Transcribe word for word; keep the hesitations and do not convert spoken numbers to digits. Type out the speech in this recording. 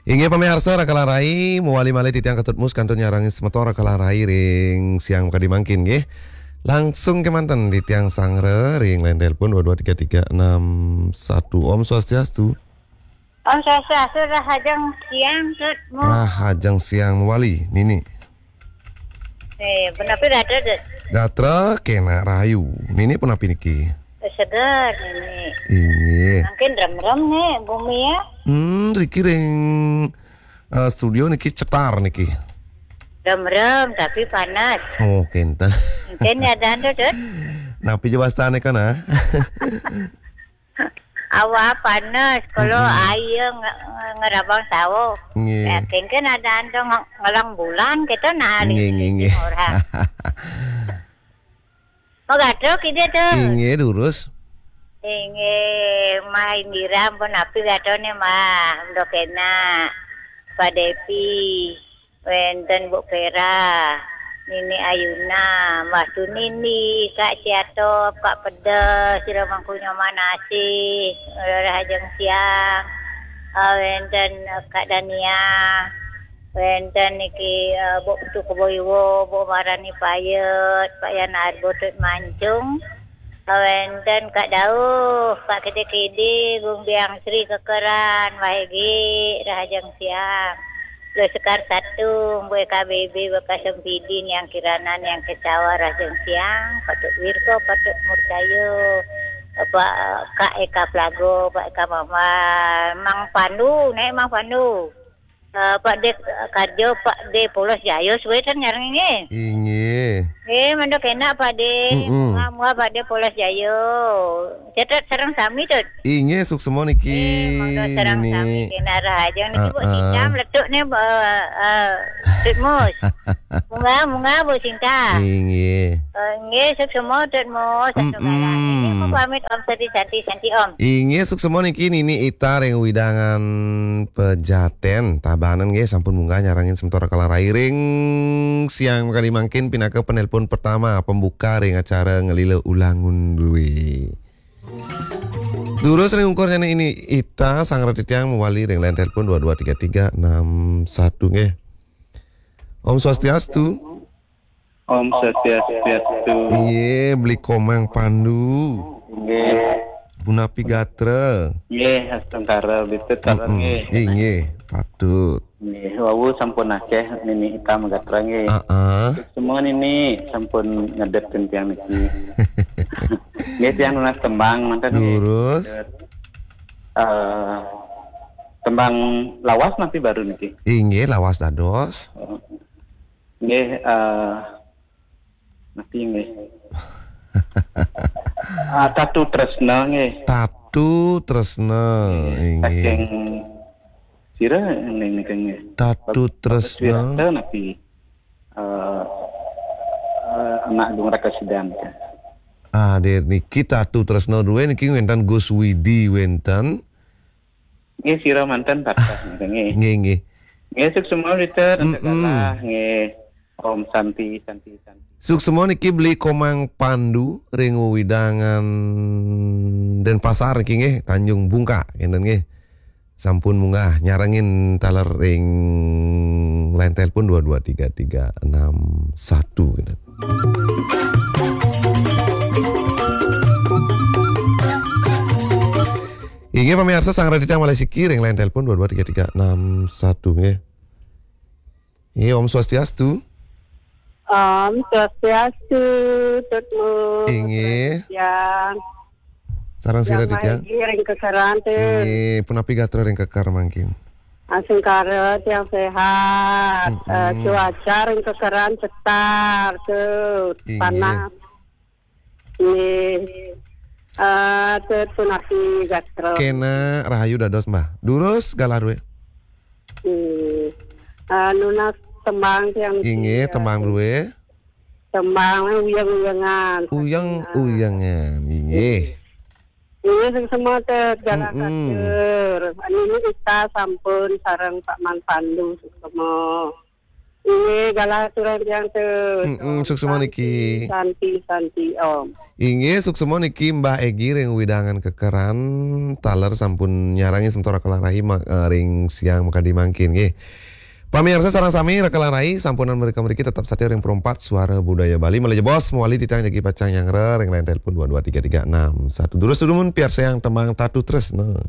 Inggih pamiarsa, Rakala Rai, mawali malih titiang Ketut Mus kantun nyarengin semeton Rakala Rai ring siang makadi mangkin nggih. Langsung kemanten titiang sanggra ring line telepon dua dua tiga tiga enam satu. Om Swastiastu. Om Swastiastu, rahajeng siang, Tut Mus. Rahajeng siang mawali, Nini. Eh, punapi gatra, Tut? Gatra kenak rahayu. Nini punapi niki? Eh, seger, Nini. Inggih. Mangkin remrem nih bumi ya. Hmm, riki ring, eh, studio niki cetar niki. Remrem tapi panas. Oh, kenten. Mungkin ya dan, Tut. Napi ja wastane kana? Awak panas, kalau Mm-mm. air nge-, nge-, ngerabang sawah. Nggih. Ya, kenten ada ando nge-, ngelang bulan kita nari. Nggih, nggih, nggih. Orang. Magatra kita, Tut. Inggih, durus. Inggih, Mah Indira, ampun napi gatrane, Mah? Mendok enak. Pak Depi, wenten Bu Pera, Nini Ayuna, Mbah Sunini, Kak Ciatop, Kak Pedes, Sira Mangku Nyoman Asih, Rahajeng Siang, eh, wenten, eh, Kak Dania, wenten niki, eh, Bu Putu Kebo Iwo, Bu Marani Payet, Pak Yana Arbo Tut Mancung, eh, wenten Kak Dauh, Pak Kede-Kede, Gung Biang Sri Kekeran, Wahege, Rahajeng Siang. Lo Sekar Satu, Bu K B B, Bapak Sempidi, Yang Kirana, Yang Kecawa, Rahajeng Siang, Patut Wirko, Patut Murcayo, Pak Kak Eka Plago, Pak Eka Mama, Mang Pandu, nek Mang Pandu. Eh, Pak De Karjo, Pak De Polos Jayus, wétan nyarengin nggih. Inggih. Eh, mendok enak, Pak De. Mm-mm. Muah-muah, Pak De Polos Jayo. Cetet sareng sami, Tut. Inggih, suksma niki, eh, monggo sareng Nini. Sami, kena rahaja niki, Bu, ah, ah. Icam letuk nih, eh, eh, Tut Mus. Munggah, munggah, Bu Sinta. Inggih. Eh, nggih, suksma, Tut Mus. Satu mm-mm. Galah. Niki mau pamit, Om Sati Santi, Santi, Om. Inggih, suksma niki Nini Ita ring wewidangan Pejaten, Tabanan nggih, sampun munggah nyarengin semeton Rakala Rai ring siang kadi mangkin pinaka penelpon pertama pembuka ring acara Ngelila Ulangun Due. Durus ring ungkur nyane Nini Ita, sanggra titiang mawali ring line telepon dua dua tiga tiga enam satu nggih. Om Swastiastu. Om Swastiastu. Inggih, Beli Komang Pandu. Inggih. Punapi gatra? Inggih, astungkara, Tut, sareng mm-mm. Nggih. Inggih, patut. Nggih, wau sampun akeh Nini Ita magatra nggih. Heeh. Semua nini sampun ngedep titiang niki. Nggih, tiang nunas tembang manten nggih. Durus. Eh, tembang lawas napi baru niki? Inggih, lawas dados. Nggih, eh, napi nggih? Ah, Tatu Tresna nggih. Tatu Tresna, nggih, inggih. Saking sira nggih niki nggih? Tatu Bagus Tresna. Wirata napi, eh, eh, anak Gung Raka Sidan, ya. Ah, nggih, niki Tatu Tresna duwe niki wenten Gus Widi wenten. Nggih, sira manten patah, nggih. Nggih, nggih. Nggih, suksma, Tut, mm-mm. Nggih. Om Santi, Santi, Santi. Suksma niki Beli Komang Pandu ring wewidangan Denpasar niki nggih, Tanjung Bungka, ngenten nggih. Sampun munggah nyarengin taler ring line telepon dua dua tiga tiga enam satu, ngenten. Inggih, pamiarsa, sanggra titiang malih siki ring line telepon dua dua tiga tiga enam satu, nggih. Inggih, Om Swastiastu. Om Swastiastu, Tut Mus. Inggih. Siang. Sareng sira titiang. Inggih, ring Kekeran, Tut. Inggih, punapi gatra ring Keker mangkin? Astungkara, tiang sehat. Mm-mm. Eh, cuaca ring Kekeran cetar, Tut. Inggih. Panas. Nggih. Eh, Tut, punapi gatra? Kena rahayu dados, Mbah. Durus galah duwe. Nggih. Eh, nunas tembang tiang niki, inggih, eh, tembang duwe. Tembang uyeng-uyengan. Uyeng-uyengan, inggih. Inggih, suksma, Tut, galah, mm-mm, katur. Nini Ita sampun sareng Pak Man Pandu, suksma. Inggih, galah aturang tiang tu. Mm-mm, suksma niki. Santi, Santi, Om. Inggih, suksma niki Mbah Egi ring wewidangan Kekeran, taler sampun nyarengi semeton Raka Langrai ma-, eh, ring siang makadi mangkin nggih. Pamirsa sareng sami, Raka Langrai sampunang mrika mriki tetep satia ring Pro empat Suara Budaya Bali. Malih jebos mawali titiang jagi pacang nyanggra ring line telepon dua dua tiga tiga enam satu. Durus dumun piarsayang tembang Tatu Tresna.